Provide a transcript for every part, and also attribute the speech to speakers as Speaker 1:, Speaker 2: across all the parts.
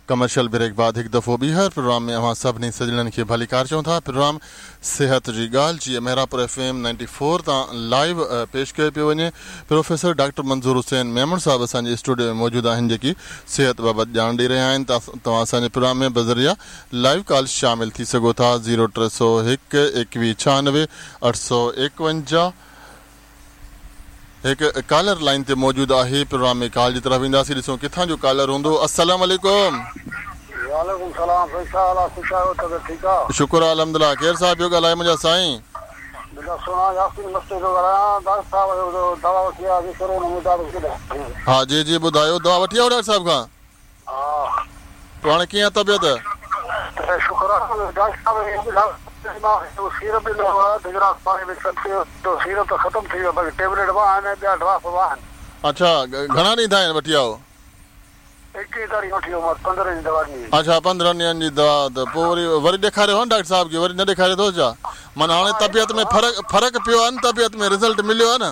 Speaker 1: Commercial break بعد هڪ دفعو ٻيهر پروگرام ۾ اوهان سڀني سڄڻن کي ڀليڪار چئون ٿا. پروگرام صحت جي ڳالهه جيئن Mehrabpur F M ninety four تان لائيو پيش ڪيو پيو وڃي. پروفيسر ڊاڪٽر منظور حسين ميمڻ صاحب اسان جي اسٽوڊيو ۾ موجود آهن جيڪي صحت بابت ڄاڻ ڏئي رهيا آهن. توهان اسان جي پروگرام ۾ بذريعه لائيو ڪال شامل ٿي سگهو ٿا زيرو 301 21 96 851. هڪ ڪالر لائين تي موجود آهي پروگرام ۾ ڪال جي طرف اينداسين ڏسون ڪٿان جو ڪالر هوندو السلام عليڪم.
Speaker 2: وعليڪم سلام سائين ڇا حال آ خوش آهيو طبيعت ٺيڪ آ.
Speaker 1: شڪر آ الحمدلله ڪير صاحب پيو ڳالهائي منهنجا سائين.
Speaker 2: منهنجا سهڻا ياسين مستي پيو ڳالهايان ڊاڪٽر صاحب جو دوا وٺي آياسين ڪورونا مطابق
Speaker 1: ها جي جي ٻڌايو دوا وٺي آيو ڊاڪٽر صاحب کان.
Speaker 2: ها.
Speaker 1: پوء هاڻي ڪيئن آ طبيعت؟
Speaker 2: شڪر آ ڊاڪٽر صاحب اهو ٻڌايو ته مان هڪ سيرپ ڏنو هو اڌ گلاس پاڻي ۾ ڪري ته سيرپ ته ختم ٿي ويو باقي ٽيبليٽ به آهن ۽ ٻيا ڊراپ به آهن.
Speaker 1: اڇا گهڻا ڏينهن ٿيا آهن وٺي آيو؟
Speaker 2: 21 تاريخ وٺي ويو مان 15 جي دوا ڏني هئي.
Speaker 1: اڇا 15 ڏينهن جي دوا ته پوء وري وري ڏيکاريو هو نه ڊاڪٽر صاحب کي وري نه ڏيکاريو اٿوس ڇا؟ معنيٰ هاڻي طبيعت ۾ فرق فرق پيو آهي نه طبيعت ۾ رزلٽ مليو آهي نه؟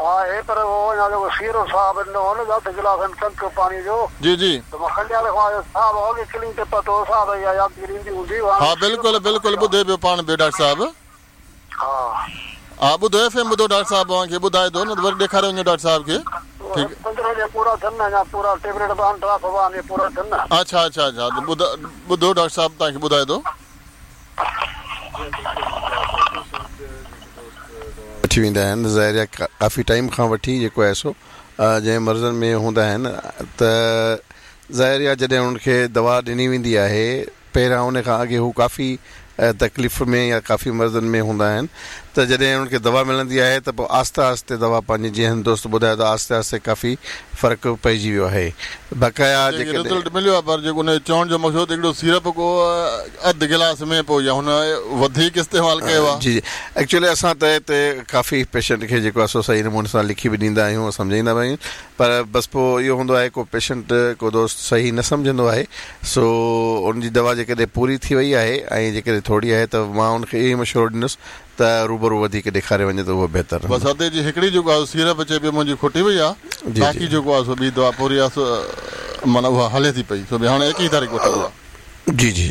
Speaker 2: ها هي پر اهو اڃا جيڪو سيرو صاحب ڏنو هو نه اڌ گلاس ۽ چمچو پاڻي جو
Speaker 1: جي جي.
Speaker 2: ته مان ڪنڊياري کان آيس صاحب اڳي ڪلينڪ تي پهتو هو صاحب اها يادگيري ايندي هوندي
Speaker 1: ها
Speaker 2: هاڻي سيرو
Speaker 1: بلڪل
Speaker 2: ختم ٿي
Speaker 1: بلڪل
Speaker 2: ويو
Speaker 1: ٻڌي پيو پاڻ به ڊاڪٽر صاحب.
Speaker 2: ها.
Speaker 1: ها ٻڌو ايف ايم ٻڌو ڊاڪٽر صاحب اوهان کي ٻڌائي ٿو نه ته وري ڏيکاري وڃو ڊاڪٽر صاحب کي ٺيڪ.
Speaker 2: 15 ڏينهن پورا ٿين نه اڃا پورا ٽيبليٽ به آهن ڊراپ به آهن اهي پورا ٿين نه.
Speaker 1: اڇا اڇا اڇا ته ٻڌ ٻڌو ڊاڪٽر صاحب توهان کي ٻڌائي ٿو.
Speaker 3: وٺي ويندا آهن ظاهر آهي ڪافي ٽائيم کان وٺي جيڪو آهي سو جنهن مرضن ۾ هوندا آهن ته ظاهر آهي جڏهن انهن کي دوا ڏني ويندي آهي پهريان ان کان اڳي هو ڪافي تڪليف ۾ يا ڪافي مرضن ۾ هوندا آهن ته جڏهن انهن کي دوا ملندي آهي ته پوء آهستي آهستي دوا پنهنجي جيئن دوست ٻڌايو ته آهستي آهستي ڪافي فرق پئجي ويو آهي بقايا
Speaker 1: جيڪي
Speaker 3: جيڪڏهن.
Speaker 1: رزلٽ مليو آهي پر جيڪو ان جو چوڻ جو مقصد هڪڙو سيرپ ڪو اڌ گلاس ۾ پوء يا هن وڌيڪ استعمال ڪيو آهي.
Speaker 3: جي جي ايڪچولي اسان ته هتي ڪافي پيشنٽ کي جيڪو آهي سو صحيح نموني سان لکي به ڏيندا آهيون ۽ سمجهائيندا به آهيون پر بس پوء اهو هوندو آهي ڪو پيشنٽ ڪو دوست صحيح نه سمجهندو آهي سو ان جي دوا جيڪڏهن پوري ٿي وئي آهي ۽ جيڪڏهن ٿوري آهي ته مان ان کي اهو ئي مشورو ڏيندس ته روبرو وڌيڪ ڏيکاري وڃي ته اهو بهتر
Speaker 1: بس
Speaker 3: رهندو.
Speaker 1: ادي جي هڪڙي جيڪو آهي سو سيرپ چئي پيو منهنجي کٽي وئي آهي
Speaker 3: جي
Speaker 1: باقي
Speaker 3: جي.
Speaker 1: جيڪو آهي سو ٻي دوا پوري آهي سو معنيٰ اها هلي ٿي پئي سو به هاڻي 21 تاريخ وٺي ويو آهي.
Speaker 3: جي جي.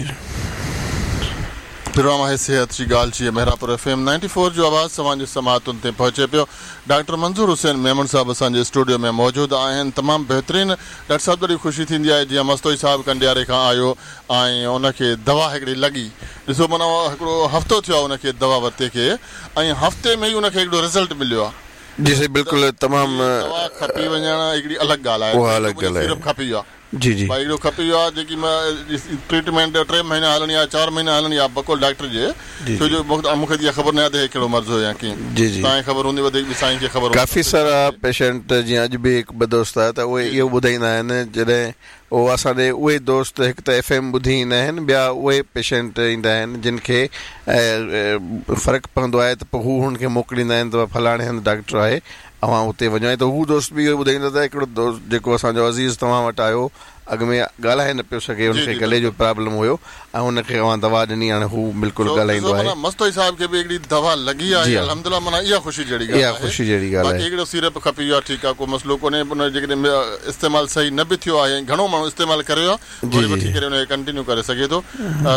Speaker 1: پروگرام آهي صحت جي ڳالهه جي Mehrabpur F M ninety four جو آواز توهان جي سماعتن تائين پهچي پيو ڊاڪٽر منظور حسين ميمڻ صاحب اسان جي اسٽوڊيو ۾ موجود آهن تمام بهترين ڊاڪٽر صاحب ڏاڍي خوشي ٿيندي آهي جيئن مستوئي صاحب ڪنڊياري کان آيو ۽ ان کي دوا هڪڙي لڳي ڏسو معنيٰ هڪڙو هفتو ٿيو آهي ان کي دوا ورتي کي ۽ هفتي ۾ ئي ان کي هڪڙو رزلٽ مليو آهي.
Speaker 3: جي سائين بلڪل تمام.
Speaker 1: دوا کپي وڃڻ هڪڙي الڳ ڳالهه آهي
Speaker 3: اها الڳ ڳالهه آهي.
Speaker 1: سيرپ کپي ويو آهي.
Speaker 3: جي جي.
Speaker 1: ڀائي هڪڙو کپي ويو آهي جيڪي ٽريٽمينٽ 3 مهينا هلڻي آهي 4 مهينا هلڻي آهي بقول ڊاڪٽر جي
Speaker 3: جي
Speaker 1: ڇو
Speaker 3: جي.
Speaker 1: جو مون کي ته اها خبر ناهي ته هي ڪهڙو مرض هو يا ڪيئن
Speaker 3: جي جي.
Speaker 1: توهان کي خبر هوندي وڌيڪ به سائين کي خبر هوندي
Speaker 3: ڪافي سارا پيشنٽ جيئن اڄ به هڪ ٻه دوست آيا ته اهي
Speaker 1: جي
Speaker 3: اهو ٻڌائيندا آهن جڏهن اهو اسان ڏي اهي دوست هڪ ته ايف ايم ٻڌي ايندا آهن ٻيا اهي پيشنٽ ايندا آهن جن کي فرق پوندو آهي ته پوء هو هن کي موڪليندا آهن ته فلاڻي هنڌ ڊاڪٽر آهي اوهان اتي وڃو ۽ ته هو دوست به اهو ٻڌائيندو ته هڪڙو دوست جيڪو اسان جو عزيز توهان وٽ آيو اڳ ۾ ڳالهائي نه پيو سگهي ان
Speaker 1: جي
Speaker 3: کي
Speaker 1: جي
Speaker 3: گلي جو
Speaker 1: بلڪل.
Speaker 3: پرابلم هيو ۽ ان کي اوهان دوا ڏني هاڻي هو بلڪل
Speaker 1: سو ڏسو
Speaker 3: ڳالهائيندو آهي.
Speaker 1: معنيٰ مستوئي صاحب کي به هڪڙي دوا لڳي
Speaker 3: جي
Speaker 1: آهي
Speaker 3: ها
Speaker 1: الحمدلله معنيٰ اها خوشي جهڙي
Speaker 3: اها
Speaker 1: ڳالهه آهي
Speaker 3: خوشي جهڙي ڳالهه
Speaker 1: باقي
Speaker 3: آهي.
Speaker 1: هڪڙو سيرپ کپي ويو آهي ٺيڪ آهي ڪو مسئلو ڪونهي ان جو جيڪڏهن استعمال صحيح نه به ٿيو آهي ۽ گهڻو ماڻهو استعمال ڪري ويو آهي
Speaker 3: جي
Speaker 1: وري
Speaker 3: جي
Speaker 1: وٺي
Speaker 3: جي.
Speaker 1: ڪري ان کي ڪنٽينيو ڪري سگهي ٿو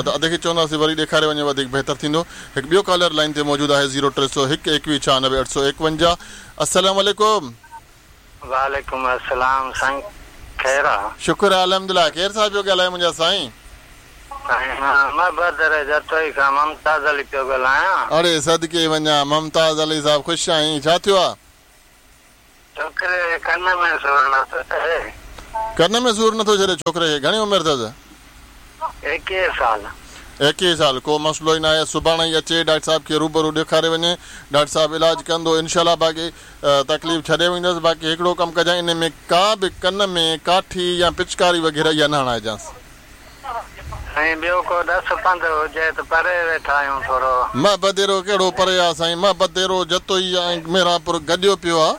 Speaker 1: ته ادي کي چونداسين وري ڏيکاري وڃي وڌيڪ بهتر ٿيندو. هڪ ٻيو ڪالر لائين تي موجود آهي زيرو 301 21 96 851 السلام عليڪم.
Speaker 4: وعليڪم السلام سائين خير آ.
Speaker 1: شڪر آ الحمدلله ڪير صاحب پيو ڳالهائي منهنجا سائين.
Speaker 4: سائين مان محبت جتوئي کان ممتاز علي پيو ڳالهايان.
Speaker 1: اڙي صدقي وڃان ممتاز علي صاحب خوش آهين ڇا ٿيو آ.
Speaker 4: ڇوڪري کي ڪن ۾ سور نٿو ڇڏي.
Speaker 1: ڪن ۾ سور نٿو ڇڏي ڇوڪري کي گهڻي عمر اٿس.
Speaker 4: 21 سال.
Speaker 1: 21 سال ڪو مسئلو ئي ناهي سڀاڻي ئي اچي ڊاڪٽر صاحب کي روبرو ڏيکاري وڃي ڊاڪٽر صاحب علاج ڪندو انشاء الله باقي تڪليف ڇڏي ويندس باقي هڪڙو ڪم ڪجانء انهي ۾ ڪا به ڪن ۾ ڪاٺي يا پچڪاري وغيره اها نه هڻائجانس.
Speaker 4: سائين ٻيو ڪو ڏس پنڌ هجي ته پري ويٺا آهيون ٿورو.
Speaker 1: محبديرو ڪهڙو پري آ سائين محبديرو جتوئي ۽ مهرانپور گڏيو پيو آ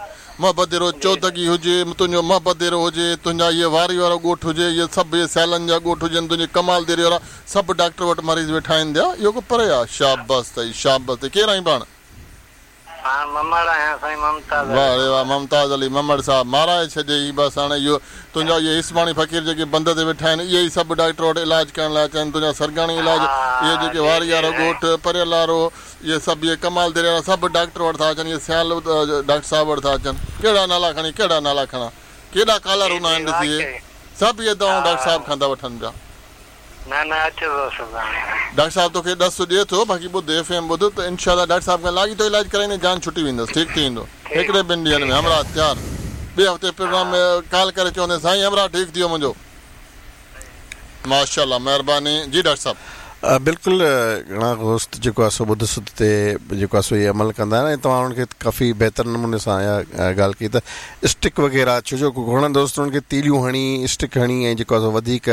Speaker 1: محبديرو چودڳي هجي تنهنجو محبديرو هجي تنهنجا اهي واري وارو ڳوٺ هجي اهي سڀ اهي سيالن جا ڳوٺ هجن تنهنجي ڪمال ديري وارا سڀ ڊاڪٽر وٽ مريض ويٺا آهن ديا اهو ڪو پري آ شابس اٿئي شابس اٿئي ڪير آهين پاڻ.
Speaker 4: پاڻ ممڙ آهيان سائين ممتاز علي
Speaker 1: واه ري واه
Speaker 4: ممڙ.
Speaker 1: ممتاز علي ممڙ صاحب مارائي ڇڏيئي بس هاڻي اهو تنهنجا اهي هيسباڻي فقير جيڪي بند تي ويٺا آهن اهي ئي سڀ ڊاڪٽر وٽ علاج ڪرڻ لاء اچن تنهنجا سرگاڻي علاج
Speaker 4: ها
Speaker 1: اهي جيڪي
Speaker 4: جي
Speaker 1: واري
Speaker 4: جي
Speaker 1: وارو
Speaker 4: سائين.
Speaker 1: ڳوٺ پريل وارو اهي سڀ اهي ڪمال دريا وارا سڀ ڊاڪٽر وٽ ٿا اچن اهي سيال ڊاڪٽر صاحب وٽ ٿا اچن ڪهڙا نالا کڻي ڪهڙا نالا کڻان ڪيڏا ڪالر
Speaker 4: جي
Speaker 1: هوندا
Speaker 4: جي
Speaker 1: آهن ڏس اهي
Speaker 4: واقعي
Speaker 1: سڀ اهي
Speaker 4: ها
Speaker 1: دوائون ڊاڪٽر صاحب کان ٿا وٺن پيا.
Speaker 4: نه نه اچبو سڀاڻي.
Speaker 1: ڊاڪٽر صاحب توکي ڏس ڏئي ٿو باقي ٻڌ ايف ايم ٻڌ ته انشاء الله ڊاڪٽر صاحب کان لاڳيتو علاج ڪرائيندين جان ڇٽي ويندس ٺيڪ ٿي ويندو
Speaker 4: ٺيڪ
Speaker 1: هڪڙي ٻن ڏينهن ۾
Speaker 4: ٺيڪ آ
Speaker 1: همراهه تيار ٻئي هفتي
Speaker 4: ها.
Speaker 1: پروگرام ۾ ڪال ڪري چوندين سائين همراهه ٺيڪ ٿي ويو منهنجو. ماشاء الله مهرباني جي ڊاڪٽر صاحب.
Speaker 3: بلڪل گهڻا دوست جيڪو آهي سو ٻڌ سڌ تي جيڪو آهي سو اهي عمل ڪندا آهن ۽ توهان انهن کي ڪافي بهتر نموني سان اها ڳالهه ڪئي ته اسٽڪ وغيره ڇو جو گهڻن دوستن انهن کي تيليون هڻي اسٽڪ هڻي ۽ جيڪو آهي سو وڌيڪ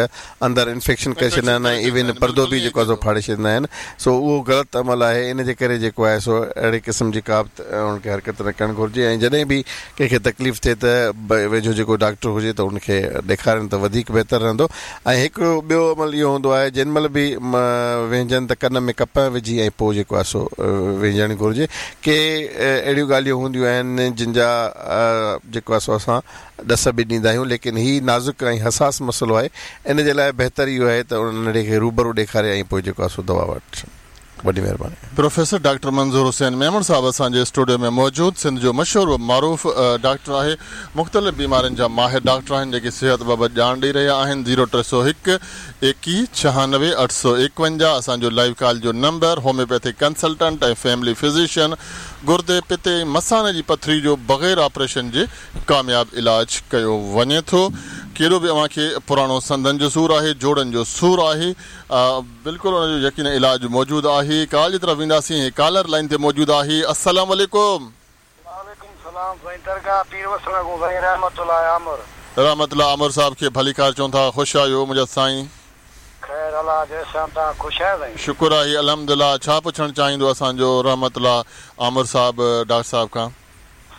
Speaker 3: اندر انفيڪشن ڪري
Speaker 1: انفيڪشن
Speaker 3: ڇڏيندا آهن
Speaker 1: ڪري
Speaker 3: ۽
Speaker 1: ڇڏيندا
Speaker 3: ايون
Speaker 1: آهن
Speaker 3: پردو
Speaker 1: بلڪل
Speaker 3: به
Speaker 1: ائين ئي
Speaker 3: جيڪو آهي
Speaker 1: ٿئي
Speaker 3: سو
Speaker 1: ٿو.
Speaker 3: ڦاڙي ڇڏيندا آهن سو اهو غلط عمل آهي ان جي ڪري جيڪو آهي سو اهڙي قسم جي ڪا به انهن کي حرڪت نه ڪرڻ گهرجي ۽ جڏهن به ڪنهن کي تڪليف ٿئي ته ويجهو جيڪو ڊاڪٽر هجي ته ان کي ڏيکارين ته وڌيڪ بهتر رهندو ۽ هڪڙو ٻيو عمل اهو هوندو آهي جنهن مهل به وهنجن ته ڪن ۾ ڪپهه وجهي ۽ پوء جيڪو آهي سو وهنجڻ گهرجي. ڪي اهڙيون ڳالهيون هونديون آهن جن جا جيڪو آهي سو اسان ڏس به ڏيندا آهيون ليڪن هي نازڪ ۽ حساس مسئلو آهي ان جي لاء بهتر اهو آهي ته ان ننڍڙي کي روبرو ڏيکاري ۽ پوء جيڪو آهي سو دوا وٺن. وڏي مهرباني.
Speaker 1: پروفيسر ڊاڪٽر منظور حسين ميمڻ صاحب اسان جي اسٽوڊيو ۾ موجود سنڌ جو مشهور و معروف ڊاڪٽر آهي مختلف بيمارين جا ماهر ڊاڪٽر آهن جيڪي صحت بابت ڄاڻ ڏئي رهيا آهن زيرو ٽي سو هڪ ايڪيهه ڇهانوي اٺ سو ايڪونجاهه اسان جو لائيو ڪال جو number homeopathic consultant ۽ family physician گردي پتي ۽ مثاني جي پٿري جو بغير آپريشن جي ڪامياب علاج ڪيو وڃي ٿو ڪيڏو به اوهان کي پراڻو سنڌن جو سور آهي جوڙن جو سور آهي بلڪل ان جو يقينن علاج موجود آهي ڪال جي طرف وينداسين هي ڪالر لائين تي موجود آهي السلام عليڪم.
Speaker 2: وعليڪم السلام سائين درگاهه پير وسڻ کان سائين رحمت الله آمر.
Speaker 1: رحمت الله آمر صاحب کي ڀليڪار چون ٿا خوش آهيو منهنجا سائين.
Speaker 2: خير الله جو احسان توهان خوش آهيو سائين.
Speaker 1: شڪر آهي الحمدلله ڇا پڇڻ چاهيندو اسان جو رحمت الله آمر صاحب ڊاڪٽر صاحب کان.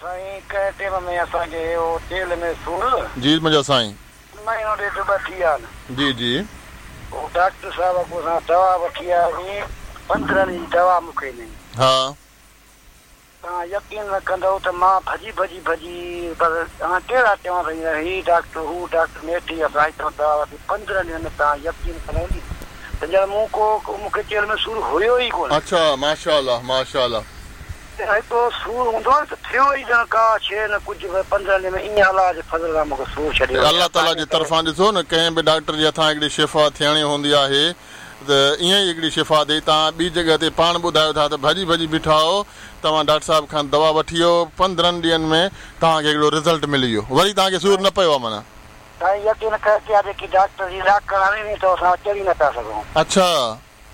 Speaker 2: سائين ڪنهن ٽيم ۾ اسان کي اهو چيلهه ۾ سور.
Speaker 1: جي منهنجا سائين.
Speaker 2: مهينو ڏيڍ ٻه ٿي ويا آهن.
Speaker 1: جي جي.
Speaker 2: هو ڊاڪٽر صاحب کان اسان دوا وٺي آياسين پندرهن ڏينهن جي دوا مون کي ڏني.
Speaker 1: ها.
Speaker 2: توهان يقين نه ڪندؤ ته مان ڀڄي ڀڄي ڀڄي بس هاڻ ڪهڙا چوان سائين هي ڊاڪٽر هو ڊاڪٽر نيٺ ئي اسان هتان دوا ورتي پندرهن ڏينهن ۾ توهان يقين ڪندؤ ني ته ڄڻ مون ڪو مون کي چيلهه ۾ سور هيو ئي ڪونه.
Speaker 1: اڇا ماشاءالله ماشاءالله.
Speaker 2: هڪڙو سور هوندو آهي نه ته ٿيو ئي ڄڻ ڪا شيء نه ڪجهه به پندرهن ڏينهن ۾ ائين الله جي فضل سان مون کي سور ڇڏي ويو.
Speaker 1: الله تعاليٰ جي طرفان ڏسو نه ڪنهن به ڊاڪٽر جي هٿان هڪڙي شفا ٿيڻي هوندي آهي ته ائين ئي هڪڙي شفا ٿئي توهان ٻي جڳهه تي پاڻ ٻڌايو ٿا ته ڀڄي ڀڄي بيٺا آهو توهان ڊاڪٽر صاحب کان دوا وٺي ويو پندرهن ڏينهن ۾ توهان کي هڪڙو رزلٽ ملي ويو وري توهان کي سور نه پيو آهي معنيٰ.
Speaker 2: سائين يقين ڪر ڪيا جيڪي ڊاڪٽر جي ڏاڪڻ هڻي ني ته اسان چڙهي نه پيا سگهون.
Speaker 1: اڇا.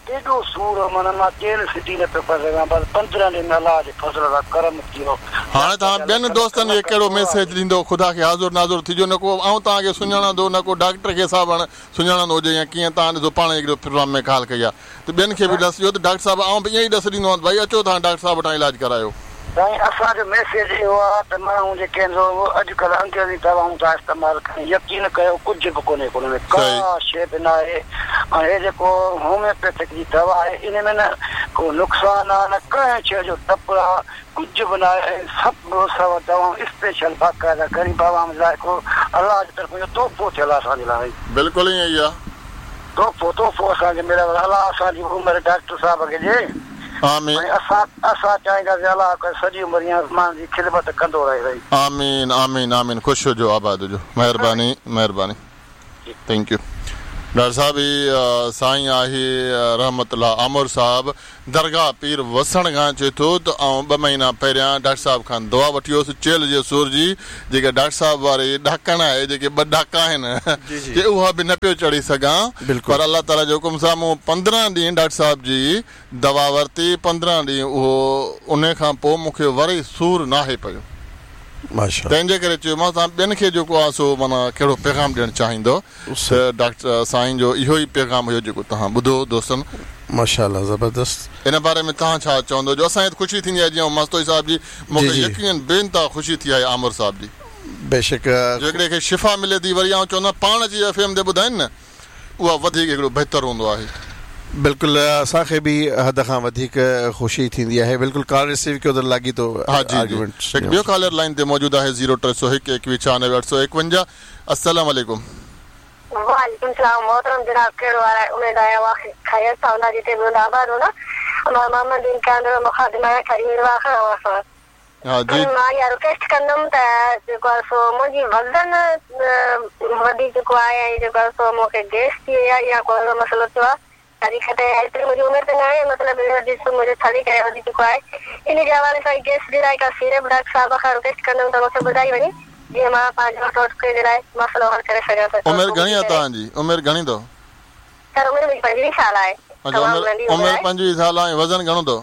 Speaker 2: ايڏو سور هو معنيٰ مان چيلهه سڌي نه پيو ڪري سگهان بس پندرهن ڏينهن ۾ الله جي فضل سان ڪرم ٿي ويو.
Speaker 1: هاڻي توهان ٻين دوستن کي ڪهڙو ميسيج ڏيندو خدا کي حاضر ناظر ٿجو نه ڪو آئون توهان کي سڃاڻان ٿو نه ڪو ڊاڪٽر کي صاحب هاڻ سڃاڻندو هجي يا ڪيئن توهان ڏسو پاڻ هڪڙو پروگرام ۾ ڳالهه ڪئي آهي ته ٻين کي به ڏس ڏيو ته ڊاڪٽر صاحب آئون به ائين ئي ڏس ڏيندو آهيان ته ڀائي اچو توهان ڊاڪٽر صاحب وٽان علاج ڪرايو.
Speaker 2: سائين اسان جو ميسيج اهو آ ته ماڻهو جيڪي آهن سو اڄ ڪلهه انگريزي دوائون ٿا استعمال ڪن يقين ڪيو ڪجهه به ڪونهي ڪو ان ۾ ڪا شيء به ناهي ۽ هي جيڪو هوميوپيٿڪ جي دوا آهي ان ۾ نه ڪو نقصان آ نه ڪنهن شيء جو ڊپ آ ڪجهه به ناهي ۽ سڀ سو دوائون اسپيشل باقاعده غريب عوام لاء هڪڙو الله جي طرفون اهو تحفو ٿيل آ اسان جي لاء.
Speaker 1: بلڪل ائين ئي آ.
Speaker 2: تحفو تحفو اسان کي مليل آ الله اسان جي عمر ڊاڪٽر صاحب کي ڏي.
Speaker 1: آمين.
Speaker 2: ۽ اسان اسان چاهينداسين الله ڪري سڄي عمر ائين ماڻهن جي خدمت ڪندو رهي سائين.
Speaker 1: آمين آمين آمين خوش هجو آباد هجو مهرباني مهرباني thank you doctor صاحب هي سائين آهي رحمت الله آمر صاحب درگاهه پير وسڻ کان چئي ٿو ته آئون ٻه مهينا پهريان ڊاڪٽر صاحب کان دعا وٺي هيس چيلهه جي سور جي جيڪا ڊاڪٽر صاحب واري ڏاڪڻ آهي جيڪي ٻه ڏاڪا آهن چي اها به نه پيو چڙهي سگهان پر الله تعالي جي حڪم سان مون پندرهن ڏينهن ڊاڪٽر صاحب جي دوا ورتي پندرهن ڏينهن اهو انهي کان پوء مون کي وري سور ناهي پيو تنهن جي ڪري چيومانس توهان ٻين کي جيڪو آهي سو معنيٰ ڪهڙو پيغام ڏيڻ چاهيندو ته ڊاڪٽر سائين جو اهو ئي پيغام هيو جيڪو توهان ٻڌو دوستن.
Speaker 3: ماشاءالله زبردست.
Speaker 1: ان باري ۾ توهان ڇا چوندو جو اسان کي ته خوشي ٿيندي آهي جيئن مستوئي صاحب جي مون کي يقينن بي انتها خوشي ٿي آهي عامر صاحب جي.
Speaker 3: بيشڪ.
Speaker 1: جو هڪڙي کي شفا ملي ٿي وري آئون چوندو آهيان پاڻ اچي ايف ايم تي ٻڌائين نه اها وڌيڪ هڪڙو بهتر هوندو آهي.
Speaker 3: بلڪل اسان کي به حد کان وڌيڪ خوشي ٿيندي آهي بلڪل ڪال رسيو ڪيو ته لاڳيتو
Speaker 1: ها جي جي هڪ ٻيو ڪالر لائين تي موجود آهي زيرو 301 21 96 851 السلام عليڪم.
Speaker 5: وعليڪم السلام محترم جناب ڪهڙو حال آهي اميد آهي اوهان خيريت سان هوندا جتي به هوندا آباد هوندا مان محمد دين ڪانڌڙو مخاطب آهيان ٺري ميرواهه کان اوهان سان
Speaker 1: ها جي.
Speaker 5: مان اها رڪويسٽ ڪندم ته جيڪو آهي سو منهنجي وزن وڌي چڪو آهي ۽ جيڪو آهي سو مون کي گئس ٿي وئي آهي يا ڪو اهڙو مسئلو ٿيو آهي حقيقت ايتري منهنجي عمر ته ناهي مطلب اهو جسم منهنجو ٿلهي ڪري وڌي چڪو آهي ان جي حوالي سان گئس جي لاء ڪا سيرپ ڊاڪٽر صاحب کان رڪويسٽ ڪندم ته مون کي ٻڌائي وڃي جيئن مان پنهنجو ٽوٽڪي جي لاء مسئلو حل ڪري سگهان ته
Speaker 1: عمر گهڻي آهي توهان جي عمر گهڻي اٿو؟
Speaker 5: سر عمر منهنجي 25 سال آهي
Speaker 1: اڇا
Speaker 5: تمام ننڍي عمر
Speaker 1: عمر
Speaker 5: آهي.
Speaker 1: 25 سال آهي ۽ وزن گهڻو اٿو؟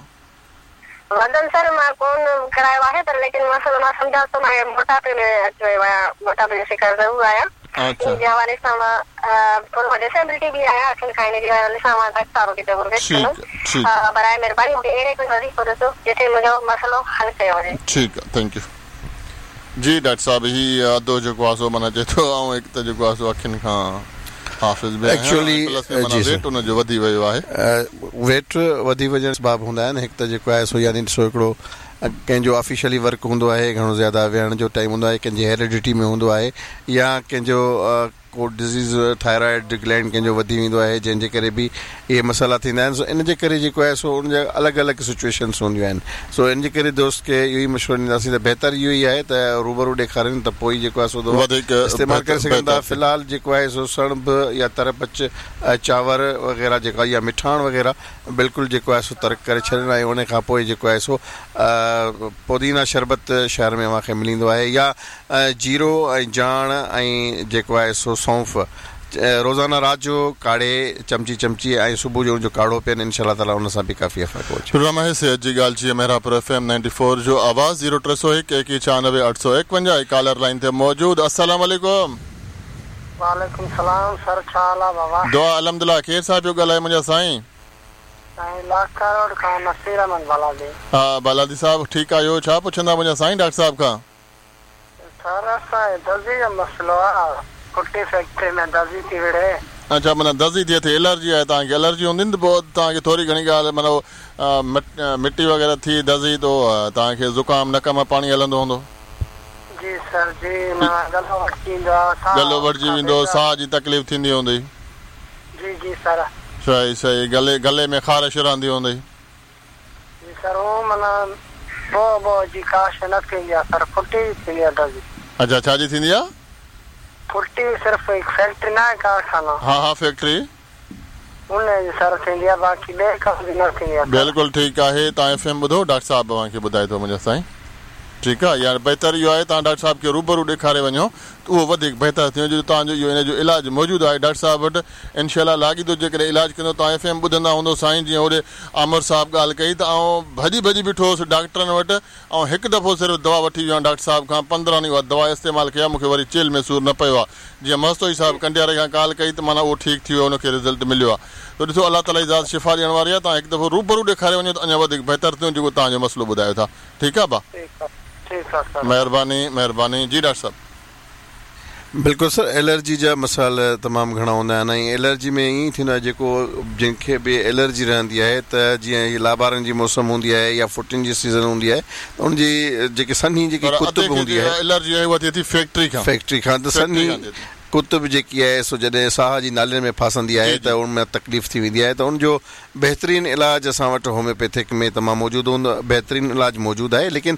Speaker 5: وزن سر مان ڪون ڪرايو آهي پر ليڪن مسئلو مان سمجهان ٿو مان موٽاپي ۾ اچي ويو آهيان موٽاپي جو شڪار ضرور آهيان ان جي حوالي سان مان ٿورو ڊسيبلٽي به آهيان اکين کان ان جي حوالي سان مان ڊاڪٽر صاحب کي ضرور رڪويسٽ ڪندم برائي مهرباني مونکي اهڙي ڪجهه وظيفو ڏسو جتي منهنجو مسئلو حل ڪيو وڃي.
Speaker 1: ٺيڪ آ thank you. جي ڊاڪٽر صاحب هي ادو جيڪو آ سو معنيٰ چئي ٿو آئون هڪ ته جيڪو آ سو اکين کان حافظ به آهيان ۽ پلس ۾ معنيٰ ويٽ ان جو وڌي ويو آهي.
Speaker 3: ويٽ وڌي وڃڻ اسباب هوندا آهن هڪ ته جيڪو آهي سو يعني ڏسو هڪڙو ڪنهن جو آفيشلي ورڪ هوندو آهي گهڻو زياده ويهڻ جو ٽائيم هوندو آهي ڪنهن جي هيريڊٽي ۾ هوندو آهي يا ڪنهن جو ڪو ڊزيز ٿائرائيڊ گلينڊ ڪنهن جو وڌي ويندو آهي جنهن جي ڪري به اهي مسئلا ٿيندا آهن سو ان جي ڪري جيڪو آهي سو ان جا الڳ الڳ سچويشنس هونديون آهن سو ان جي ڪري دوست کي اهو ئي مشورو ڏينداسين ته بهتر اهو ئي آهي ته روبرو ڏيکارين ته پوء ئي جيڪو آهي سو دوا استعمال ڪري سگهن ٿا في الحال جيڪو آهي سو سڻڀ يا ترپچ چانور وغيره جيڪا يا مٺاڻ وغيره بلڪل جيڪو آهي سو ترڪ ڪري ڇڏين ۽ ان کان پوء جيڪو آهي سو پودينا شربت شهر ۾ اوهان کي مليندو آهي يا جيرو ۽ جاڻ ۽ جيڪو آهي سو سونف روزانه رات جو ڪاڙهي چمچي چمچي ۽ صبح جو ان جو ڪاڙهو پين انشاء الله تعالي ان سان به ڪافي فرق پئجي.
Speaker 1: پروگرام آهي صحت جي ڳالهه جي مهراپور ايف ايم 94 جو آواز زيرو 301 ايڪيهه 96 851 ۽ ڪالر لائين تي موجود السلام عليڪم.
Speaker 4: وعليڪم السلام سر ڇا حال آ بابا.
Speaker 1: دعا الحمدلله ڪير صاحب پيو ڳالهائي منهنجا سائين.
Speaker 4: سائين لاکا روڊ کان نصير احمد بالادي.
Speaker 1: ها بالادي صاحب ٺيڪ آهيو ڇا پڇندا منهنجا سائين ڊاڪٽر صاحب کان.
Speaker 4: سر اسان کي دزي جو مسئلو آ ڦٽي فيڪٽري ۾ دزي ٿي وڙهي.
Speaker 1: اڇا معنيٰ دزي ٿئي ٿي الرجي آهي توهان کي الرجي هوندي نه ته پوء توهان کي ٿوري گهڻي ڳالهه معنيٰ مٽي وغيره ٿي دزي ته توهان کي زڪام نڪ مان پاڻي هلندو هوندو.
Speaker 4: جي سر جي معنيٰ ڳلو وڍجي ويندو آ ساهه
Speaker 1: ڳلو وڍجي ويندو ساهه جي تڪليف ٿيندي هوندي.
Speaker 4: جي جي سر.
Speaker 1: صحيح صحيح گلي گلي ۾ خارش رهندي هوندي.
Speaker 4: جي سر هو معنيٰ بوء بوء جي ڪا شيء نه ٿيندي آ سر ڦٽي جي ٿيندي آ دزي.
Speaker 1: اڇا ڇا جي ٿيندي آ؟
Speaker 4: ڦٽي صرف هڪ فيڪٽري نه آهي ڪارخانو.
Speaker 1: ها ها فيڪٽري.
Speaker 4: ان جي سر ٿيندي آ باقي ٻئي ڪم جي نه ٿيندي آ سر.
Speaker 1: بلڪل ٺيڪ آهي توهان ايف ايم ٻڌو ڊاڪٽر صاحب اوهان کي ٻڌائي ٿو منهنجا سائين ٺيڪ آ يا بهتر اهو آهي توهان ڊاڪٽر صاحب کي روبرو ڏيکاري وڃو ته اهو وڌيڪ بهتر ٿيندو جو توهان جو اهو ان جو علاج موجود آهي ڊاڪٽر صاحب وٽ انشاء الله لاڳيتو جيڪڏهن علاج ڪندو توهان ايف ايم ٻڌندا هوندو سائين جيئن هوڏي آمر صاحب ڳالهه ڪئي ته آئون ڀڄي ڀڄي بيٺو هوس ڊاڪٽرن وٽ آئون هڪ دفعو صرف دوا وٺي ويو آهيان ڊاڪٽر صاحب کان 15 ڏينهن اها دوا استعمال ڪئي آهي مون کي وري چيلهه ۾ سور نه پيو آهي جيئن مستوئي صاحب ڪنڊياري کان ڪال ڪئي ته معنيٰ اهو ٺيڪ ٿي ويو ان کي رزلٽ مليو آهي ته ڏسو الله تعالي جي ذات شفا ڏيڻ واري آهي توهان هڪ دفعو روبرو ڏيکاري وڃو ته اڃا وڌيڪ بهتر ٿيندو جيڪو توهان جو مسئلو ٻڌايو ٿا ٺيڪ آهي ڀا
Speaker 4: ٺيڪ آهي سر.
Speaker 1: مهرباني مهرباني جي ڊاڪٽر صاحب.
Speaker 3: بلڪل سر الرجي جا مسائل تمام گهڻا هوندا آهن ۽ الرجي ۾ ائين ٿيندو آهي جيڪو جنهن کي به الرجي رهندي آهي ته جيئن هي لابارن جي موسم هوندي آهي يا ڦٽين جي سيزن هوندي آهي ته ان جي جيڪي سنهي جيڪي
Speaker 1: پر
Speaker 3: ڪتب
Speaker 1: ادي کي
Speaker 3: هوندي
Speaker 1: جيڪا
Speaker 3: آهي
Speaker 1: الرجي آهي اها ٿئي ٿي فيڪٽري کان
Speaker 3: فيڪٽري کان ته
Speaker 1: فيڪٽري
Speaker 3: سنهي
Speaker 1: کان ٿئي ٿي.
Speaker 3: ڪتب جيڪي آهي سو جڏهن ساهه جي نالين ۾ ڦاسندي
Speaker 1: جي
Speaker 3: آهي
Speaker 1: جي.
Speaker 3: ته ان ۾ تڪليف ٿي ويندي آهي ته ان جو بهترين علاج اسان وٽ هوميوپيٿڪ ۾ تمام موجود هوندو بهترين علاج موجود آهي ليڪن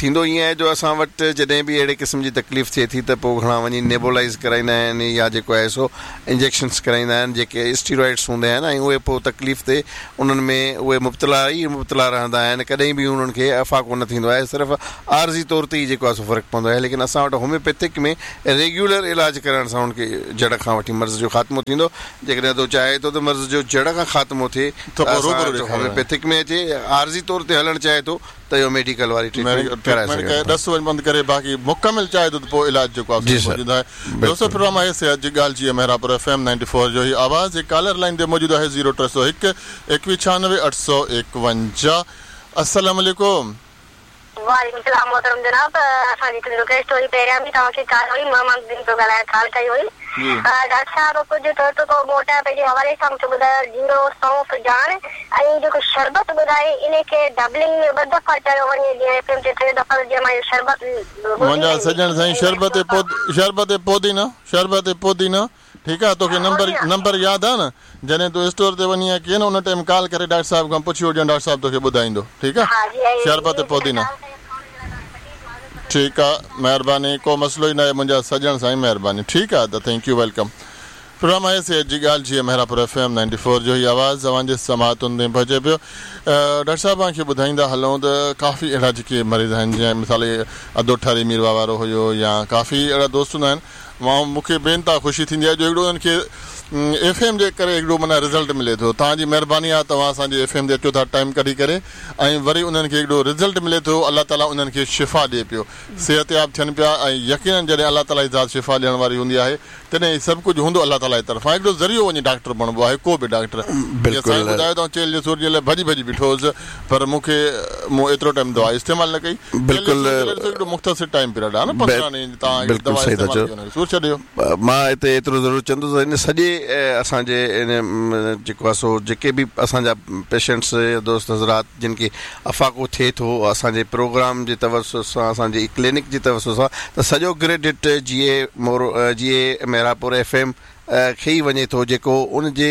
Speaker 3: ٿيندو ائين آهي جو اسان وٽ جڏهن به اهڙي قسم جي تڪليف ٿئي ٿي ته پوء گهڻا وڃي نيبولائيز ڪرائيندا آهن يا جيڪو آهي سو انجيڪشنس ڪرائيندا آهن جيڪي اسٽيرائڊس هوندا آهن ۽ اهي پوء تڪليف تي انهن ۾ اهي مبتلا ئي مبتلا رهندا آهن ڪڏهن به انهن کي افاقو نه ٿيندو آهي صرف عارضي طور تي ئي جيڪو آهي سو فرق پوندو آهي ليڪن اسان وٽ هوميوپيٿڪ ۾ ريگيولر علاج ڪرائڻ سان ان کي جڙ کان وٺي مرض جو خاتمو ٿيندو جيڪڏهن ادو چاهي ٿو ته مرض جو جڙ کان خاتمو ٿئي
Speaker 1: ته
Speaker 3: ته
Speaker 1: پوء
Speaker 3: اسان
Speaker 1: روبرو
Speaker 3: وٽ
Speaker 1: ڏيکاريو وڃي.
Speaker 3: هوميوپيٿڪ ۾ اچي، عارضي طور تي هلڻ چاهي ٿو ته اهو ميڊيڪل واري ٽريٽمينٽ ڪرائي
Speaker 1: ٽريٽمينٽ
Speaker 3: سگهي
Speaker 1: ڪري
Speaker 3: ٿو.
Speaker 1: ڏس وڃ بند ڪري باقي مڪمل چاهي ٿو ته پوء علاج جيڪو آهي
Speaker 3: جي
Speaker 1: سو
Speaker 3: سر
Speaker 1: موجود آهي. دوستو
Speaker 3: بلڪل.
Speaker 1: پروگرام آهي صحت جي ڳالهه جي مهراپور ايف ايم 94 جو هي آواز هڪ ڪالر لائين تي موجود آهي زيرو 301 21 96 851 السلام عليڪم.
Speaker 5: وعليڪم السلام محترم جناب اسان جي هڪڙي رڪويسٽ هئي پهريان به توهان کي ڪال هئي مان مان دين پيو ڳالهايان ڪال ڪئي هئي. ڊاڪٽر صاحب ڪجهه ٽوٽڪو موٽاپي جي حوالي سان مونکي ٻڌايو جيرو سونف جاڻ ۽ جيڪو شربت ٻڌائي انهي کي ڊبلنگ ۾ ٻه دفعا چيو وڃي جيئن ايف ايم تي ٽي دفعا جيئن مان اهو شربت
Speaker 1: منهنجا سڄڻ سائين شربت شربت پودينا شربت پودينا ٺيڪ آ توکي نمبر نمبر ياد آ نه جڏهن تون اسٽور تي وڃين يا ڪيئن نه ان ٽائيم ڪال ڪري ڊاڪٽر صاحب کان پڇي وٺجان ڊاڪٽر صاحب توکي ٻڌائيندو ٺيڪ آ شربت پودينا ٺيڪ آ مهرباني ڪو مسئلو ئي ناهي منهنجا سڄڻ سائين مهرباني ٺيڪ آ ادا thank you welcome programme آهي صحت جي ڳالهه جيئي Mehrapur F M ninety four جو هي آواز اوهان جي سماعتن تائين پهچي پيو ڊاڪٽر صاحب اوهان کي ٻڌائيندا هلون ته ڪافي اهڙا جيڪي مريض آهن جيئن مثال ادو ٺري ميرواهه وارو هيو يا ڪافي اهڙا دوست هوندا آهن مان مون کي بي انتها خوشي ٿيندي آهي جو هڪڙو انهن کي ايف ايم جي ڪري هڪڙو معنيٰ رزلٽ ملي ٿو توهان جي مهرباني آهي توهان اسان جي ايف ايم تي اچو ٿا ٽائيم ڪڍي ڪري ۽ وري انهن کي هڪڙو رزلٽ ملي ٿو الله تعالي انهن کي شفا ڏي پيو صحتياب ٿين پيا ۽ يقينن جڏهن الله تعالي جي ذات شفا ڏيڻ واري هوندي آهي تڏهن هي سڀ ڪجهه هوندو الله تعالي جي طرفان هڪڙو ذريعو وڃي ڊاڪٽر بڻبو آهي ڪو به ڊاڪٽر جيئن سائين ٻڌايو ته آئون چيلهه جي سور جي لاء ڀڄي ڀڄي بيٺو هوس پر مون کي مون ايترو ٽائيم دوا استعمال نه ڪئي
Speaker 3: بلڪل
Speaker 1: هڪڙو مختصر ٽائيم پيريڊ آهي نه 15 ڏينهن توهان هڪ دوا استعمال ڪئي ان کي سور ڇڏي ويو.
Speaker 3: مان هتي ايترو ضرور چوندس ته ان سڄي اسان جي ان جيڪو آهي سو جيڪي به اسان جا پيشنٽس يا دوست حضرات جن کي افاقو ٿئي ٿو اسان جي پروگرام جي توسط سان اسان جي ڪلينڪ جي توسط سان ته سڄو ڪريڊٽ جيئي مورو جيئي مهراپور ايف ايم کي ئي وڃي ٿو جيڪو ان جي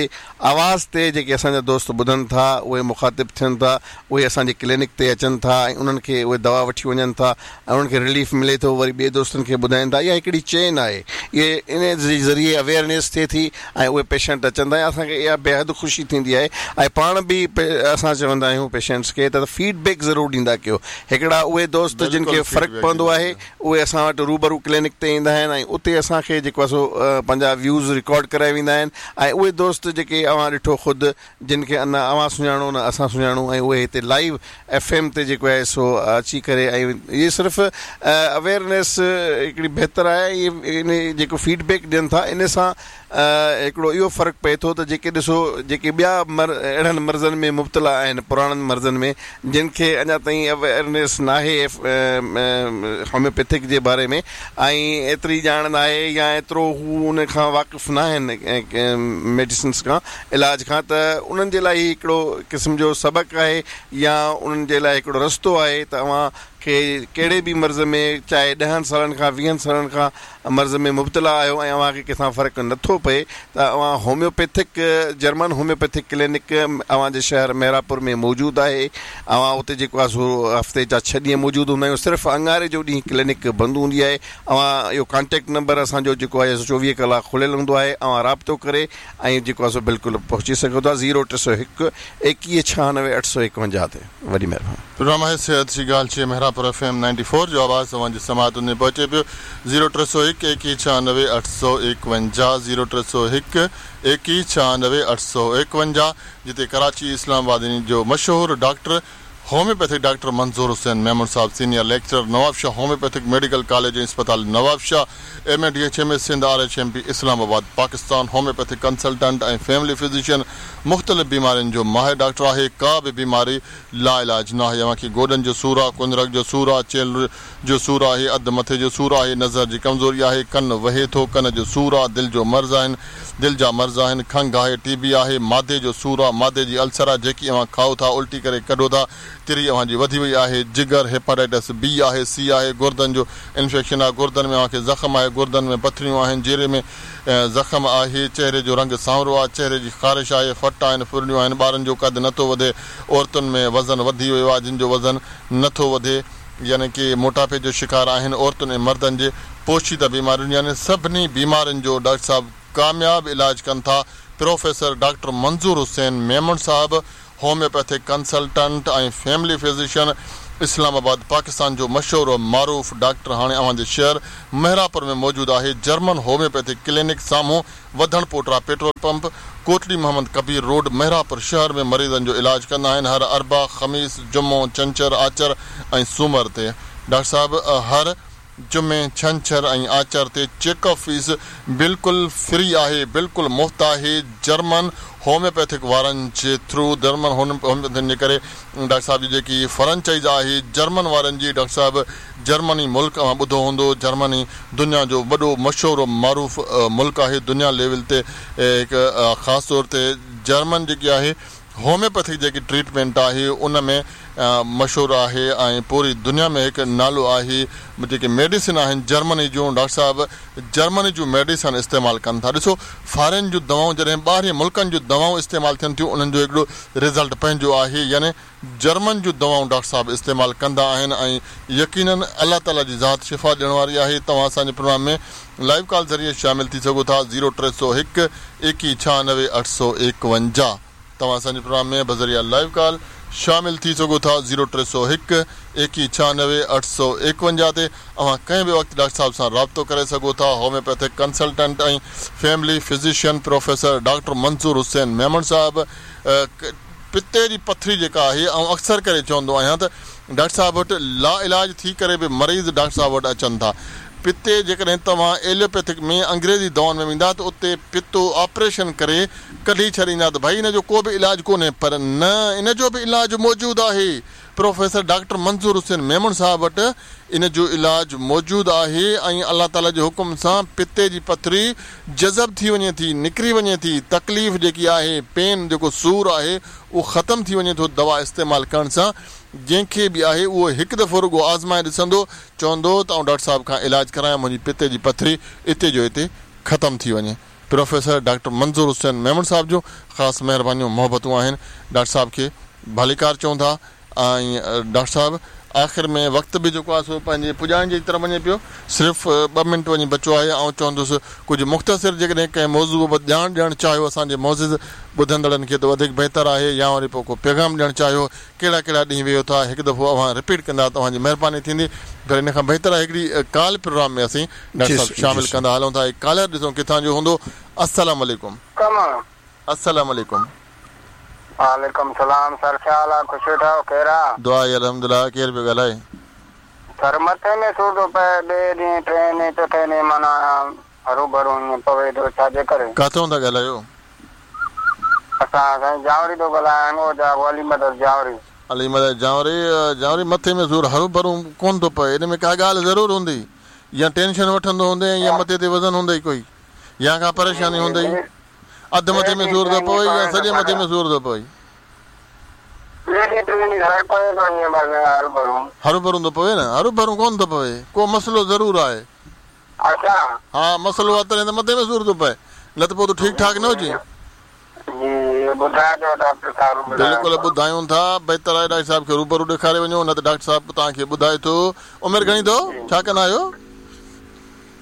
Speaker 3: آواز تي جيڪي اسان جا دوست ٻڌن ٿا اهي مخاطب ٿين ٿا اهي اسان جي ڪلينڪ تي اچن ٿا ۽ انهن کي اهي دوا وٺي وڃن ٿا ۽ انهن کي رليف ملي ٿو وري ٻئي دوستن کي ٻڌائين ٿا اها هڪڙي چين آهي اهي ان جي ذريعي اويئرنيس ٿئي ٿي ۽ اهي پيشنٽ اچن ٿا ۽ اسان کي اها بيحد خوشي ٿيندي آهي ۽ پاڻ به اسان چوندا آهيون پيشنٽس کي ته فيڊ بيڪ ضرور ڏيندا ڪيو هڪڙا اهي دوست جن کي فرق پوندو آهي اهي اسان وٽ روبرو ڪلينڪ تي ايندا آهن ۽ اتي اسان کي جيڪو آهي سو پنهنجا ويوز رڪارڊ ڪرائي ويندا آهن ۽ اهي دوست جيڪي اوهان ڏٺو خود جن کي نه اوهان سڃاڻو نه اسان سڃاڻون ۽ اهي هتي لائيو ايف ايم تي جيڪو آهي سو اچي ڪري ۽ اهي صرف اويئرنيس هڪڙي بهتر آهي ۽ ان جيڪو فيڊ بيڪ ڏين ٿا ان سان هڪڙو اهو فرق پئي ٿو ته جيڪي ڏسو جيڪي ٻيا مر اهڙن مرضن ۾ مبتلا آهن پراڻن مرضن ۾ جن کي اڃا تائين اويئرنيس ناهي هوميوپيٿڪ جي باري ۾ ۽ ايتري ڄاڻ ناهي يا ايترو هو ان کان واقف ناهن ميڊيسنس کان علاج کان ته انهن جي لاء هي هڪڙو قسم جو سبق آهي يا انهن جي لاء هڪڙو رستو آهي ته اوهان کي ڪهڙي به مرض ۾ چاهي ڏهن سالن کان ويهن سالن کان مرض ۾ مبتلا آهيو ۽ اوهان کي ڪٿان فرق نٿو پئي ته اوهان هوميوپيٿڪ جرمن هوميوپيٿڪ ڪلينڪ اوهان جي شهر مهراپور ۾ موجود آهي اوهان اتي جيڪو آهي سو هفتي جا ڇهه ڏينهن موجود هوندا آهيون صرف اڱاري جو ڏينهن ڪلينڪ بند هوندي آهي اوهان اهو ڪانٽيڪٽ نمبر اسان جو جيڪو آهي سو 24 ڪلاڪ کليل هوندو آهي اوهان رابطو ڪري ۽ جيڪو آهي سو بلڪل پهچي سگهو ٿا زيرو 301 21 96 851 تي وڏي مهرباني.
Speaker 1: پروگرام آهي صحت جي ڳالهه جيئي Mehrapur F M ninety four جو آواز اوهان جي سماعتن ۾ پهچي پيو زيرو 301 21 96 851 زيرو 301 21 96 851 جتي ڪراچي اسلام آباد جو مشهور doctor homeopathic doctor Manzoor Hussain Memon صاحب senior lecturer Nawabshah homeopathic medical college ۽ اسپتال Nawabshah M A D H M S Sindh R H M P Islamabad Pakistan homeopathic consultant ۽ family physician مختلف بيمارين جو ماهر ڊاڪٽر آهي ڪا به بيماري لاعلاج ناهي اوهان کي گوڏن جو سور آ ڪنرڪ جو سور آ چيلهه جو سور آهي اڌ مٿي جو سور آهي نظر جي ڪمزوري آهي ڪن وهي ٿو ڪن جو سور آ دل جو مرض آهن دل جا مرض آهن، کنگهه آهي، ٽي بي آهي، معدي جو سور آ، معدي جي السر آ، جيڪي اوهان کائو ٿا الٽي ڪري ڪڍو ٿا، تري اوهان جي وڌي وئي آهي، جگر، هيپاٽائٽس بي آهي، سي آهي، گردن جو انفيڪشن آ، گردن ۾ اوهان کي زخم آهي، گردن ۾ پٿريون آهن، جيري ۾ زخم آهي، چهري جو رنگ سانورو آ، چهري جي خارش آهي، ڦٽ آهن، ڦرڙيون آهن، ٻارن جو قد نٿو وڌي، عورتن ۾ وزن وڌي ويو آ، جن جو وزن نٿو وڌي، يعني ڪي موٽاپي جو شڪار آهن، عورتن ۽ مردن جي پوشيده بيمارين يعني سڀني بيمارين جو ڊاڪٽر صاحب ڪامياب علاج ڪن ٿا، پروفيسر ڊاڪٽر منظور حسين ميمڻ صاحب homeopathic consultant ۽ family physician Islamabad Pakistan جو مشهور و معروف ڊاڪٽر هاڻي اوهان جي شهر مهراپور ۾ موجود آهي جرمن هوميوپيٿڪ ڪلينڪ سامهون وڌڻ پوٽرا petrol pump Kotri Muhammad Kabir road Mehrapur شهر ۾ مريضن جو علاج ڪندا آهن هر اربع، خميس، جمعو، ڇنڇر، آچر ۽ سومر تي ڊاڪٽر صاحب هر. جمعي، ڇنڇر ۽ آچر تي چيڪ اپ فيس بلڪل فري آهي، بلڪل مفت آهي، جرمن هوميوپيٿڪ وارن جي ٿرو جرمن هوميوپيٿڪ جي ڪري ڊاڪٽر صاحب جي جيڪي فرنچائز آهي جرمن وارن جي ڊاڪٽر صاحب جرمني ملڪ اوهان ٻڌو هوندو جرمني دنيا جو وڏو مشهور و معروف ملڪ آهي دنيا ليول تي هڪ خاص طور تي جرمن جيڪي آهي هوميوپيٿڪ جيڪي ٽريٽمينٽ آهي ان ۾ مشهور آهي ۽ پوري دنيا ۾ هڪ نالو آهي جيڪي ميڊيسن آهن جرمني جون ڊاڪٽر صاحب جرمني جون ميڊيسن استعمال ڪن ٿا ڏسو فارين جون دوائون جڏهن ٻاهرين ملڪن جون دوائون استعمال ٿين ٿيون انهن جو هڪڙو رزلٽ پنهنجو آهي يعني جرمن جون دوائون ڊاڪٽر صاحب استعمال ڪندا آهن ۽ يقينن الله تعالي جي ذات شفا ڏيڻ واري آهي توهان اسان جي پروگرام ۾ لائيو ڪال ذريعي شامل ٿي سگهو ٿا زيرو 301 21 96 851 توهان اسان جي پروگرام ۾ بذريعه لائيو ڪال شامل ٿي سگهو ٿا زيرو 301 21 96 851 تي اوهان ڪنهن به وقت ڊاڪٽر صاحب سان رابطو ڪري سگهو ٿا homeopathic consultant ۽ family physician professor doctor Manzoor Hussain Memon صاحب پتي جي پٿري جيڪا آهي آئون اڪثر ڪري چوندو آهيان ته ڊاڪٽر صاحب وٽ لا علاج ٿي ڪري به مريض ڊاڪٽر صاحب وٽ اچن ٿا پتي جيڪڏهن توهان ايلوپيٿڪ ۾ انگريزي دوائن ۾ ويندا ته اتي پتو آپريشن ڪري ڪڍي ڇڏيندا ته ڀئي ان جو ڪو به علاج ڪونهي پر نه ان جو به علاج موجود آهي پروفيسر ڊاڪٽر منظور حسين ميمڻ صاحب وٽ ان جو علاج موجود آهي ۽ الله تعالي جي حڪم سان پتي جي پٿري جذب ٿي وڃي ٿي، نڪري وڃي ٿي، تڪليف جيڪي آهي، پين جيڪو سور آهي اهو ختم ٿي وڃي ٿو دوا استعمال ڪرڻ سان، جنهن کي به آهي اهو هڪ دفعو رڳو آزمائي ڏسندو، چوندو ته آئون ڊاڪٽر صاحب کان علاج ڪرايان منهنجي پتي جي پٿري اتي جو اتي ختم ٿي وڃي. پروفيسر ڊاڪٽر منظور حسين ميمڻ صاحب جون خاص مهربانيون محبتون آهن ڊاڪٽر صاحب کي ڀليڪار چئون ٿا ۽ ڊاڪٽر صاحب آخر ۾ وقت به جيڪو آهي سو پنهنجي پڄاڻي جي طرف وڃي پيو صرف ٻه منٽ وڃي بچو آهي آئون چوندس ڪجهه مختصر جيڪڏهن ڪنهن موضوع بابت ڄاڻ ڏيڻ چاهيو اسان جي معزز ٻڌندڙن کي ته وڌيڪ بهتر آهي يا وري پوء ڪو پيغام ڏيڻ چاهيو ڪهڙا ڪهڙا ڏينهن ويهو ٿا هڪ دفعو اوهان رپيٽ ڪندا ته اوهان جي مهرباني ٿيندي پر ان کان بهتر آهي هڪڙي ڪال پروگرام ۾ اسين ڊاڪٽر صاحب شامل ڪندا هلون ٿا هڪ ڪالر ڏسون ڪٿان جو هوندو السلام عليڪم.
Speaker 4: ڪم.
Speaker 1: السلام عليڪم.
Speaker 4: وعليڪم سلام سر ڇا حال آ خوش ويٺا آهيو خير آ.
Speaker 1: دعا آهي الحمدلله ڪير پيو ڳالهائي.
Speaker 4: سر مٿي ۾ سور ٿو پئي ٻئي ڏينهن ٽئين ڏينهن چوٿين ڏينهن معنيٰ هروڀرو ائين پوي ٿو ڇا جي ڪري.
Speaker 1: ڪاٿئون ٿا ڳالهايو.
Speaker 4: اسان سائين جانوري ٿو ڳالهايان هنگوجا علي مدد جانوري.
Speaker 1: علي مدد جانوري جانوري مٿي ۾ سور هروڀرو ڪونه ٿو پئي ان ۾ ڪا ڳالهه ضرور هوندي يا ٽينشن وٺندو هوندين يا مٿي تي وزن هوندئي ڪوئي يا ڪا پريشاني هوندئي اڌ مٿي ۾ سور ٿو پوي يا سڄي مٿي ۾ سور ٿو پوي. هروڀرو ٿو پوي نه هروڀرو ڪونه ٿو پوي ڪو مسئلو ضرور آهي.
Speaker 4: اڇا.
Speaker 1: ها مسئلو آ تڏهن ته مٿي ۾ سور ٿو پئي نه ته پوء تون ٺيڪ ٺاڪ نه هجين.
Speaker 4: جي ٻڌائجو ڊاڪٽر صاحب ٻڌايو
Speaker 1: بلڪل ٻڌايون ٿا بهتر آهي ڊاڪٽر صاحب کي روبرو ڏيکاري وڃو نه ته ڊاڪٽر صاحب توهان کي ٻڌائي ٿو عمر گهڻي اٿو ڇا ڪندا آهيو.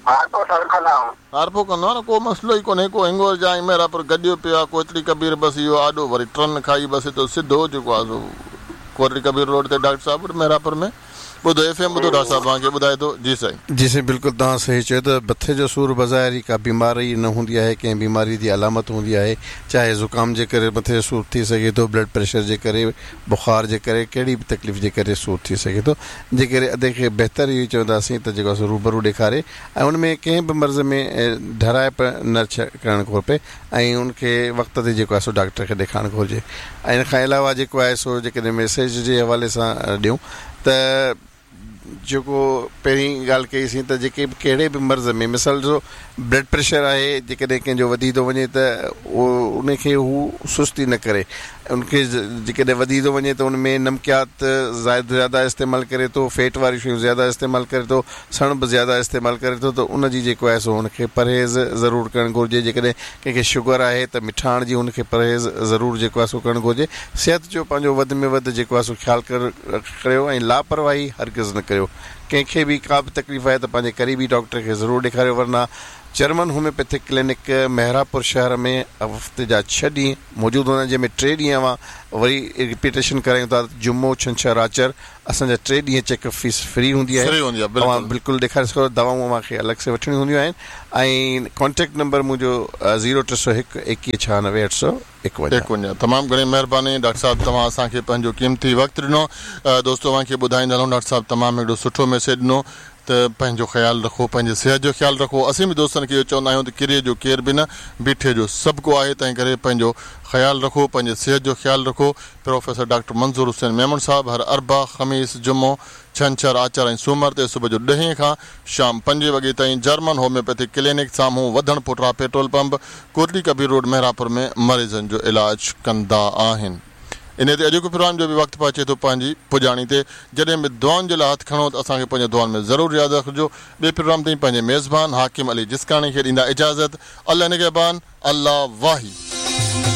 Speaker 4: هارپو سر ڪندا آهيون.
Speaker 1: هارپو ڪندو آهيان نه ڪو مسئلو ئي ڪونهي ڪو هنگورجا ۽ محرابپور گڏيو پيو آهي ڪوٽڙي ڪبير بس اهو آڏو وري ٽرن کائي بس هتو سڌو جيڪو آهي سو ڪوٽڙي ڪبير روڊ تي ڊاڪٽر صاحب وٽ محرابپور ۾ ٻڌو ايف ايم ٻڌو ڊاڪٽر صاحب اوهان کي ٻڌائي ٿو جي سائين.
Speaker 3: جي سائين بلڪل توهان صحيح چيو ته مٿي جو سور بظاهر هي ڪا بيماري نه هوندي آهي ڪنهن بيماري جي علامت هوندي آهي چاهي زڪام جي ڪري مٿي جو سور ٿي سگهي ٿو بلڊ پريشر جي ڪري بخار جي ڪري ڪهڙي به تڪليف جي ڪري سور ٿي سگهي ٿو جي ڪري ادي کي بهتر اهو ئي چونداسين ته جيڪو آهي سو روبرو ڏيکاري ۽ ان ۾ ڪنهن به مرض ۾ ڍرائپ نه ڪرڻ گهربي ۽ ان کي وقت تي جيڪو آهي سو ڊاڪٽر کي ڏيکارڻ گهرجي ۽ ان کان علاوه جيڪو آهي سو جيڪڏهن ميسيج جي حوالي سان ڏيون ته جيڪو پهرين ڳالهه ڪئي سين ته جيڪي به ڪهڙي به مرض ۾ مثال ڏسو بلڊ پريشر آهي جيڪڏهن ڪنهن جو وڌي ٿو وڃي ته ان کي هو سستي نه ڪري ان کي جيڪڏهن وڌي ٿو وڃي ته ان ۾ نمڪيات زائد زياده استعمال ڪري ٿو فيٽ واريون شيون زياده استعمال ڪري ٿو سڻڀ زياده استعمال ڪري ٿو ته ان جي جيڪو آهي سو ان کي پرهيز ضرور ڪرڻ گهرجي جيڪڏهن ڪنهن کي شگر آهي ته مٺاڻ جي ان کي پرهيز ضرور جيڪو آهي سو ڪرڻ گهرجي صحت جو پنهنجو وڌ ۾ وڌ جيڪو آهي سو خيال ڪريو ۽ لاپرواهي هرگز نه ڪريو ڪنهن کي به ڪا به تڪليف آهي ته پنهنجي قريبي ڊاڪٽر کي ضرور ڏيکاريو ورنه جرمن هوميوپيٿڪ ڪلينڪ محرابپور شهر ۾ هفتي جا ڇهه ڏينهن موجود هوندا آهن جنهن ۾ ٽي ڏينهن اوهان وري رپيٽيشن ڪرايون ٿا جمعو ڇنڇر آچر اسان جا ٽي ڏينهن چيڪ اپ فيس فري هوندي آهي
Speaker 1: فري هوندي آهي بلڪل.
Speaker 3: اوهان بلڪل ڏيکاري سگهو ٿا دوائون اوهان کي الڳ سي وٺڻيون هونديون آهن ۽ ڪانٽيڪٽ نمبر منهنجو زيرو 301 21 96 851.
Speaker 1: 51 تمام گهڻي مهرباني ڊاڪٽر صاحب توهان اسان کي پنهنجو قيمتي وقت ڏنو دوستو اوهان کي ٻڌائيندا هلون ڊاڪٽر صاحب تمام هڪڙو سٺو ميسيج ڏنو. ته پنهنجو خيال رکو، پنهنجي صحت جو خيال رکو. اسين به دوستن کي اهو چوندا آهيون ته ڪري جو ڪير به نه، بيٺي جو سڀ ڪو آهي، تنهن ڪري پنهنجو خيال رکو، پنهنجي صحت جو خيال رکو. پروفيسر ڊاڪٽر منظور حسين ميمڻ صاحب هر اربع، خميس، جمعو، ڇنڇر، آچر ۽ سومر تي صبح جو ڏهين کان شام پنجين وڳي تائين جرمن هوميوپيٿڪ ڪلينڪ سامهون وڌڻ پوٽرا petrol pump, Kotli Kabir road Mehrapur ۾ مريضن جو علاج ڪندا آهن. انهيء تي اڄوڪي پروگرام جو به وقت پهچي ٿو پنهنجي پڄاڻي تي. جڏهن به دعائن جي لاء هٿ کڻو ته اسان کي پنهنجي دعائن ۾ ضرور ياد رکجو. ٻئي پروگرام تائين پنهنجي ميزبان حاڪم علي جسڪاڻي کي ڏيندا اجازت. الله نگهبان. الله واهي.